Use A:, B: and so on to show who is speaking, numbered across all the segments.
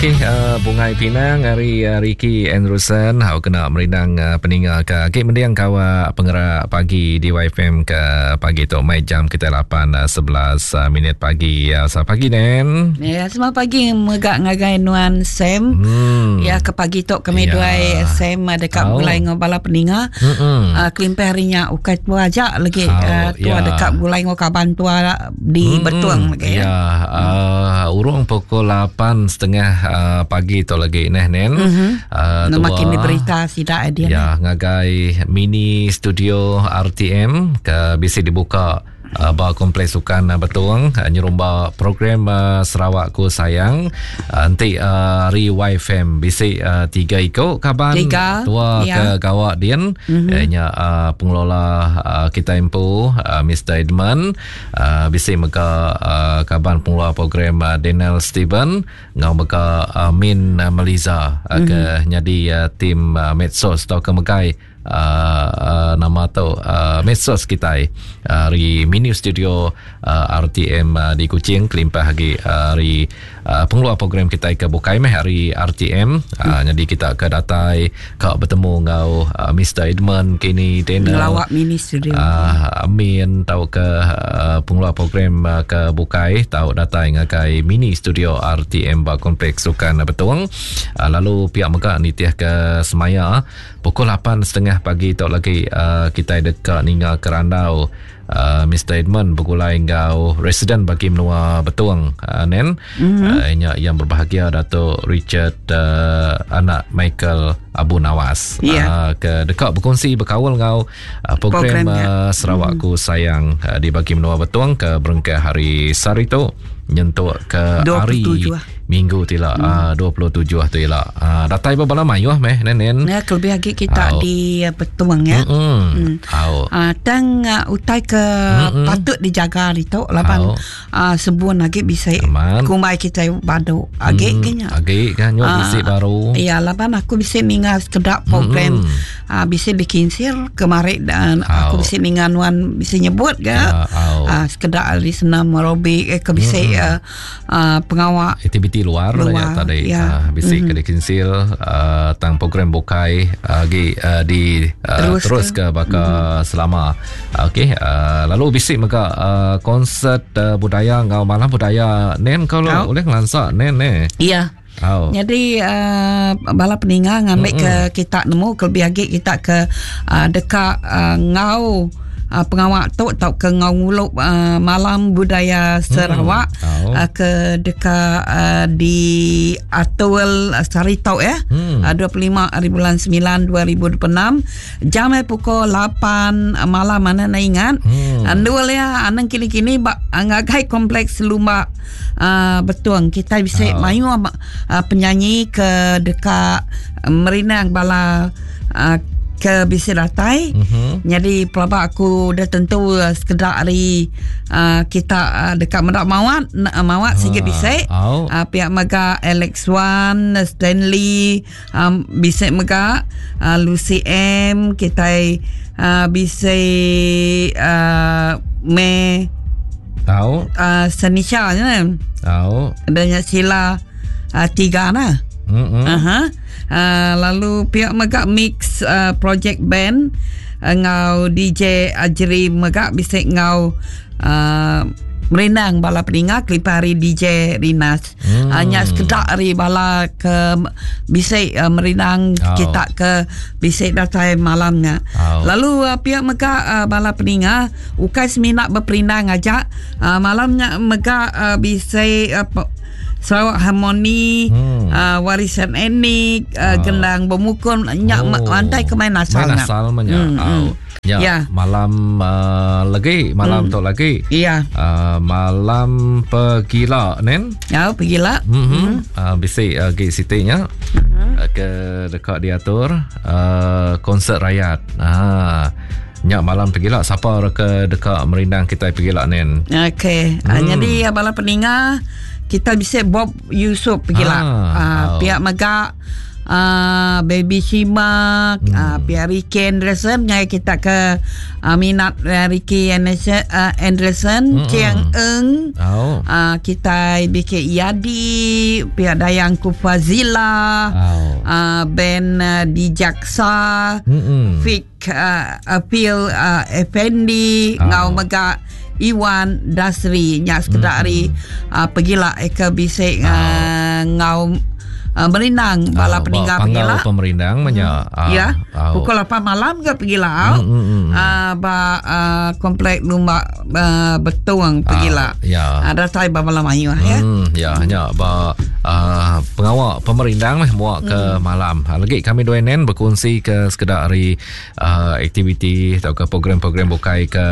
A: Okey, uh, Bungai Pinang ari uh, Ricky Andrewson hau kena merindang uh, peninga ke agi mending kawa pengerak pagi di YFM ke pagi tu mai jam kita 8 11 uh, minit pagi. Uh, selamat pagi Nen.
B: Ya, selamat pagi mega ngagai nuan Sam. Hmm. Ya ke pagi tu kami ya. duai Sam dekat oh. gulai ngau bala peninga. Hmm. Uh, kelimpah hari nya ukai tua aja lagi uh, tua ya. dekat gulai ngau kaban tua di hmm. Betung
A: lagi ya. Ya, uh, urung pukul 8.30 uh, pagi tu lagi neh nen. Mm -hmm.
B: uh, tua, makin diberita sida
A: dia. Ya, ngagai mini studio RTM ke bisi dibuka uh, ba kompleks sukan uh, Betung uh, nyerumba program uh, Sarawak Ku Sayang uh, enti uh, hari YFM bisi uh, tiga iko kaban tiga, tua ya. ke gawa din mm -hmm. nya uh, pengelola uh, kita empu uh, Mr Edmund Uh, bisi mega uh, kaban pengeluar program uh, Daniel Steven ngau mega uh, Min uh, Meliza uh, mm-hmm. ke nyadi uh, tim uh, medsos atau ke megai uh, uh, nama tu uh, medsos kita uh, hari mini studio uh, RTM uh, di Kuching kelimpah lagi uh, hari uh, pengeluar program kita ke bukai meh hari RTM uh, hmm. jadi kita ke datai ke bertemu ngau uh, Mr Edmund kini
B: Daniel ngelawak mini studio
A: uh, Amin tau ke uh, pengeluar program uh, ke bukai tau datai ngagai mini studio RTM ba kompleks sukan Betung uh, lalu pihak mega nitih ke semaya pukul 8.30 pagi tu lagi uh, kita deka ninga kerandau uh, Mr Edmund begulai enggau residen bagi menua Betung uh, Nen mm-hmm. uh, nya yang berbahagia Datuk Richard uh, anak Michael Abu Nawas yeah. uh, ke dekat berkongsi berkaul enggau uh, program, program uh, Sarawakku mm-hmm. Sayang uh, di bagi menua Betung ke berengkah hari sehari tu nyentuk ke hari minggu tu ila hmm. uh, 27 tu ila uh, datai bala mayuh meh nen
B: ya kelebih lagi kita Au. di uh, Betung ya hmm. Hmm. Au. Uh, tang uh, utai ke hmm. patut dijaga itu laban uh, sebun lagi bisa kumbai kita badu agi hmm.
A: kenya agi kan nyu uh, bisi baru
B: ya laban aku bisa ninga sekedak program hmm. uh, bisa bikin sir kemarin dan aku bisa ninga nuan bisa nyebut ga ya, uh, sekedak ari senam aerobik eh, ke bisa hmm. uh, uh, pengawa
A: aktiviti luar, luar lah ya tadi ya. Uh, bisi mm-hmm. ke dikinsil uh, tang program bukai lagi uh, di uh, terus, terus ke, ke baka mm-hmm. selama okey uh, lalu bisi mega uh, konsert uh, budaya ngau malam budaya nen kau lo boleh ngelansa nen ne
B: iya Oh. Jadi uh, bala peninga ngambil mm-hmm. ke kita nemu kelebih lagi kita ke uh, deka uh, ngau uh, pengawa tu tau ke ngau nguluk uh, malam budaya Sarawak hmm. oh. uh, ke deka uh, di atul uh, sehari tau ya hmm. uh, 25 hari bulan 9 2026 jam eh pukul 8 malam mana nak ingat hmm. Andul ya anang kini-kini ba ngagai kompleks lumba uh, betung kita bisa oh. mayu uh, penyanyi ke deka merinang bala uh, ke bisi datai. Mm-hmm. Jadi pelaba aku dah tentu uh, sekedar hari uh, kita uh, dekat medak mawat uh, mawat uh, sikit bisi. Oh. Uh, pihak mega Alex Wan, Stanley um, bisi mega uh, Lucy M kita uh, bisi uh, me
A: Tahu.
B: Uh, Senisha nya.
A: Tahu.
B: Dan Sheila uh, tiga nah. Mm-hmm. Uh-huh. Uh, lalu pihak mega mix uh, project band ngau DJ Ajri mega bisa ngau uh, merindang bala peninga kelipah hari DJ Rinas. Hmm. Uh, nya sekedak hari bala ke bisa uh, merindang oh. kita ke bisa datai malamnya. Oh. Lalu uh, pihak mega uh, bala peninga ukai semina berperindang aja uh, malamnya mega uh, bisa uh, Sarawak Harmoni, hmm. uh, Warisan Etnik, uh, oh. Gendang Bermukun, nyak oh. mantai ke main asal.
A: Main asal menya. Hmm, oh. hmm. Ya, ya. Malam uh, lagi, malam hmm. tu lagi.
B: Ya.
A: Uh, malam pegila, nen?
B: Ya, pegila.
A: Mm -hmm. hmm. Uh, bisi uh, gi sitinya. Mm-hmm. Uh, ke dekat diatur uh, konsert rakyat. Ah. Nya malam pegila sapa ke deka merindang kitai pegila nen.
B: Okey. Hmm. Jadi bala peninga kita bisa Bob Yusof pegila. Ah, uh, oh. Pihak mega. uh, Baby Shima, hmm. uh, pia Ricky Anderson ngai kita ke uh, minat uh, Ricky Anderson, uh, Anderson hmm. Chiang Eng, oh. uh, kita BK Yadi, pia Dayang Kufazila, oh. uh, Ben uh, Dijaksa, hmm. Fik uh, Appeal uh, Effendi, oh. ngau mega Iwan Dasri nya sekeda hmm. ari uh, pegila ke bisi uh, oh. ngau uh, merindang bala uh, peningga
A: pegila pemerindang menya
B: uh, ya uh, pukul 8 malam ke pegila mm, mm, mm. Uh, ba uh, komplek lumba uh, betung pegila uh,
A: ya
B: uh, datai ba malam ayu ya
A: mm, ya nya ba uh, pengawa pemerindang meh muak ke mm. malam lagi kami dua nen berkongsi ke sekeda ari uh, aktiviti atau ke program-program bukai ke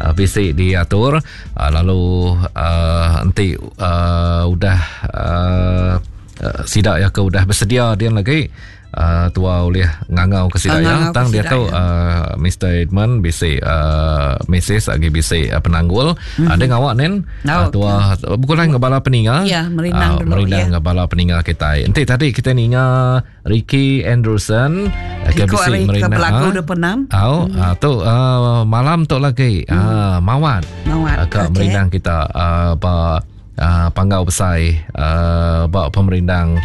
A: uh, bisi diatur uh, lalu uh, enti uh, udah uh, uh, sida ya ke udah bersedia dia lagi uh, tua ulih ngangau ke sida ya tang dia tu uh, Mr Edmund bisi uh, Mrs lagi bisi uh, penanggul mm-hmm. ada ngawak nen oh, uh, tua okay. bukan lah bala peninga
B: ya merindang uh,
A: dulu merindang ya. bala peninga kita enti tadi kita ninga Ricky Anderson
B: ke bisi merindang ke belagu 26.
A: Au, hmm. tu uh, malam tu lagi hmm. uh, Mawat.
B: Mawat.
A: Uh, ke okay. merindang kita uh, ba uh, panggau besai uh, ba pemerindang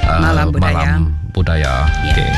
B: uh, malam budaya.
A: Malam budaya. Yeah. Okey.